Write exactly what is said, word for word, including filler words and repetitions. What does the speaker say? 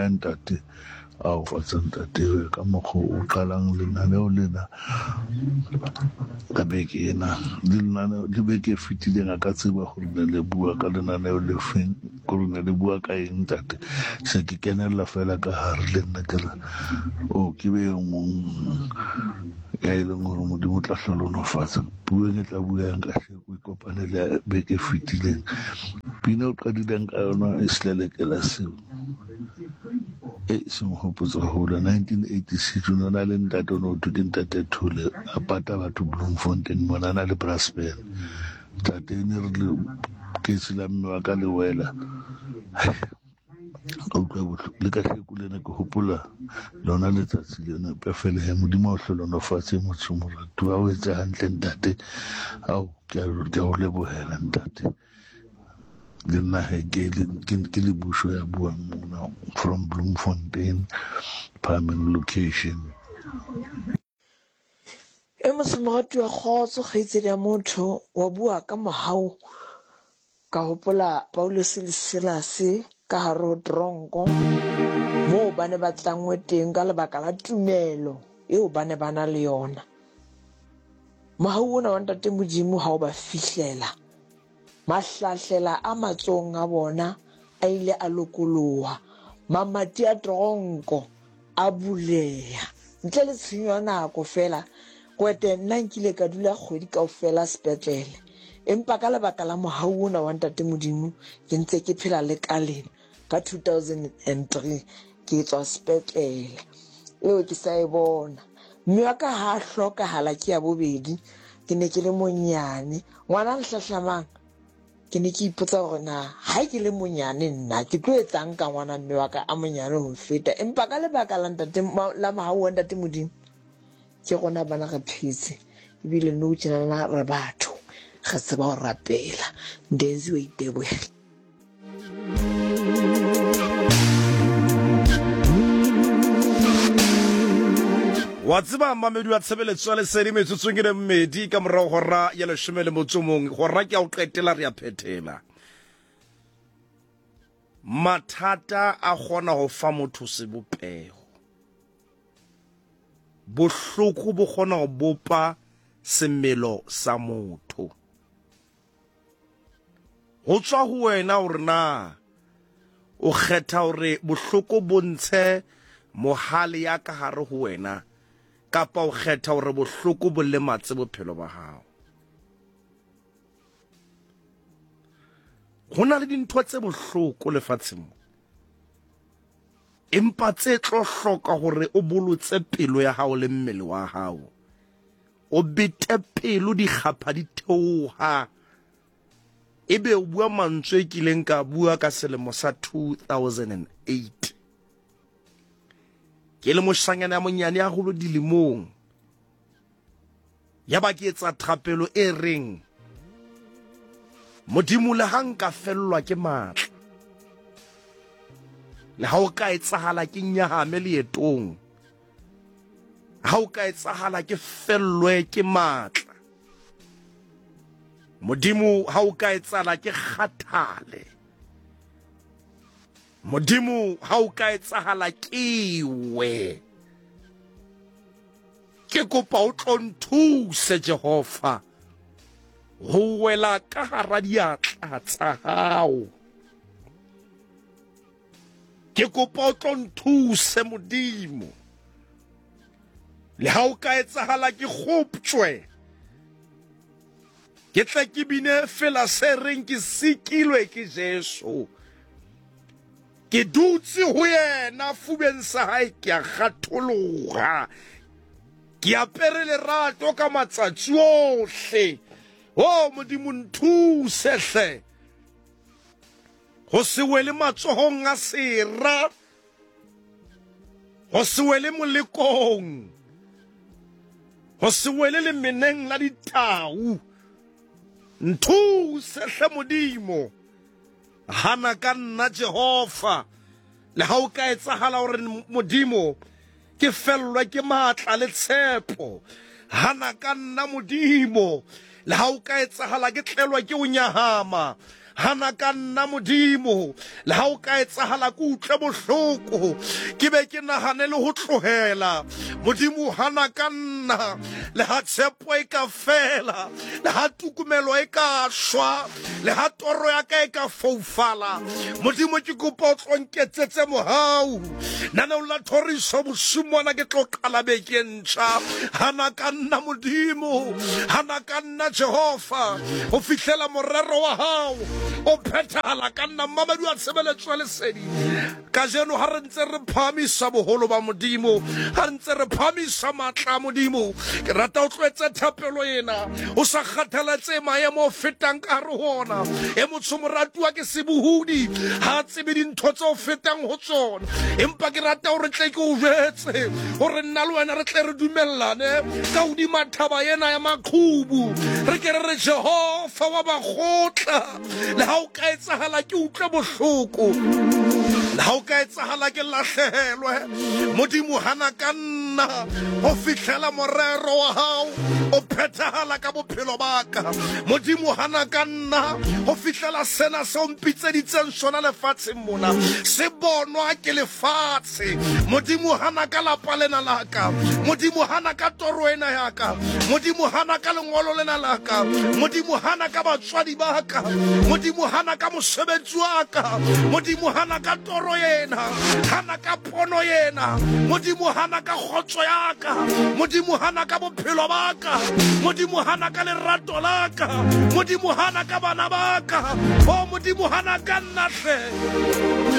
Ntate a o fatsa ntate ka mokgwa o qalang lenaneo lena ka beke ena le lenaneo le beke e fetileng a ka tseba gore ne le bua ka lenaneo le feng gore ne le bua ka eng ntate. Se ke kenella fela ka hare le nna ke re o ke be e mong ya e leng gore Modimo o tla hlohonolofatsa puong e tla buang ka hleko e kopane le beke e fetileng. Pina o qadileng ka yona e selelekela seo e seng hopotsa hole nineteen eighty-six o ne na le ntate o ne o thwe ke ntate Thole a pata batho Bloemfontein mona a na le brass band. Ntate ne re le kesi la mme wa ka le wela ka utlwa bohloko le ka hleko lena ke hopola lona letsatsi lena pefele he Modimo a o hlohonolofatse motho moratuwa o etse hantle ntate. Ao ke a o lebohela ntate. Le nna he ke ke le busho ya buang mona from Bloemfontein Phahameng location. E motho moratuwa kgotso kgaitsedi ya motho wa bua ka mohau ka hopola Paulus le Silas ka hare ho tronko moo ba ne ba tlangwe teng ka lebaka la tumelo eo ba ne ba na le yona. Mohau ona wa ntate Modimo ha o ba fihlela mahlahlela a matsohong a bona a ile a lokoloha, mamati a tronko a buleha ntle le tshenyo ya nako fela. Kwete nna nkile ka dula kgwedi kaofela sepetlele, empa ka lebaka la mohau ona wa ntate Modimo ke ntse ke phela le ka lena. Ka two thousand and three ke tswa sepetlele eo ke sa e bona. Mme wa ka ha hlokahala ke ya bobedi, ke ne ke le monyane. Ngwana nhlahlamang ke ne ke ipotsa hore na ha ke le monyane nna ke tlo etsang ka ngwana mme wa ka a monyane ho feta, empa ka lebaka la ntate la mohau wa ntate Modimo ke rona bana re phetse ebile nou tjenana re batho re tseba ho rapela. Ndenzi wa itebohela. Wa tseba mamedi wa tshebeletso ya Lesedi metsotsong e le mmedi ka morago hora ya leshome le motso mong hora ke ya ho qetela re ya phethela. Mathata a kgona ho fa motho sebopeho, bohloko bo kgona ho bopa semelo sa motho. Ho tswa ho wena hore na o kgetha hore bohloko bo ntshe mohale ya ka hare ho wena kapa o kgetha hore bohloko bo lematse bophelo ba hao. Ho na le dintho tse bohloko lefatsheng mo, empa tse tlo hloka hore o bolotse pelo ya hao le mmele wa hao, o bete pelo dikgapha di theoha, ebe o bua mantswe e kileng ka bua ka selemo sa two thousand and eight. Ke le moshanyana ya monyane ya holo dilemong, ya ba ke etsa thapelo e reng Modimo le ha nka fellwa ke matla, le ha o ka etsahala ke nyahame leetong, ha o ka etsahala ke fellwe ke matla, Modimo ha o ka etsahala ke kgathale, Modimo ha o ka etsahala ke we, ke kopa o tlo nthuse Jehova ho wela ka hara diatla tsa hao. Ke kopa o tlo nthuse Modimo, le ha o ka etsahala ke kgoptjwe, ke tle ke bine fela se reng ke sikilwe ke Jesu, ke dutse ho yena fubeng sa hae ke a kgatholoha, ke apere lerato ka matsatsi ohle. O Modimo nthuse hle ho se wele matsohong a sera, ho se wele molekong, ho se wele lemeneng la ditau. Nthuse hle Modimo, hana ka nna Jehova, le ha o ka etsahala hore Modimo ke fellwe ke matla le tshepo, hana ka nna Modimo, le ha o ka etsahala ke tlelwa ke o nyahama, Hana ka nna Modimo, le ha o ka etsahala ke utlwe bohloko, ke be ke nahane le ho tlohela. Modimo hana ka nna, le ha tshepo e ka fela, le ha tukumelo e ka shwa, le ha toro ya ka e ka foufala. Modimo ke kopa o tlo nketsetse mohau. Naneong la thoriso bosiung bona ke tlo qala beke e ntjha. Hana ka nna Modimo, hana ka nna Jehova, ho fihlela morero wa hao o phethahala ka nna. Mmamedi wa tshebeletso ya lesedi, kajeno ha re ntse re phahamisa boholo ba Modimo, ha re ntse re phahamisa matla a Modimo, ke rata o tlo etse thapelo ena o sa kgathaletse maemo o fetang ka hare ho ona. E motsho moratuwa ke sebohodi, ha a tsebe dintho tse o fetang ho tsona, empa ke rata hore tle ke o jwetse hore nna le wena re tle re dumellane ka hodima thaba ena ya maqhubu, re ke re re Jehova wa bakgotla, le ha o ka etsahala ke utlwe bohloko, le ha o ka etsahala ke lahlehelwe, Modimo hana ka nna ho fihlela morero wa hao o phethahala ka bophelo ba ka. Modimo hana ka nna ho fihlela sena se o mpitseditseng sona lefatsheng mona se bonwa ke lefatshe. Modimo hana ka lapa lena la ka, Modimo hana ka toro ena ya ka, Modimo hana ka lengolo lena la ka, Modimo hana ka batswadi ba ka, Modimo hana ka mosebetsi wa ka, Modimo hana ka toro ena, hana ka pono ena, Modimo hana ka kgotso ya ka, Modimo hana ka bophelo ba ka, Modimo hana ka lerato la ka, Modimo hana ka bana ba ka, o Modimo hana ka nna hle.